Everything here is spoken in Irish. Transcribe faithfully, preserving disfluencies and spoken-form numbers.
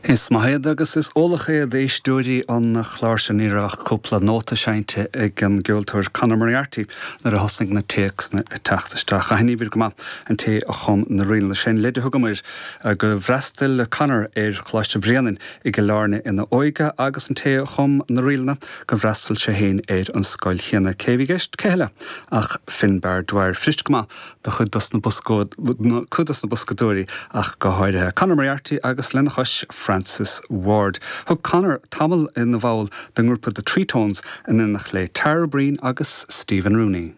Is maith iad agus is eolach é d'éisteoirí an chláir sin ní raibh ach cúpla nóta seinnte ag an gceoltóir Conor Moriarty nuair a thosaigh na téacsanna ag teacht isteach. Aithnímid go maith an té a chum na ríleanna sin leide a thugamar gur fhreastail Conor ar Choláiste Bhréanainn i gCill Airne ina óige agus an té a chum na ríleanna gur fhreastail sé féin ar an scoil chéanna cé bhí i gceist cé eile ach Finbar Dwyer fuirist go maith do chuid dos na cuid dos na boscadóirí ach go háirithe Conor Moriarty agus lena chois Francis Ward. Thug Conor tamall ina bhall den ngrúpa The Tree Tones in éineacht le Tara Breen agus Stephen Rooney.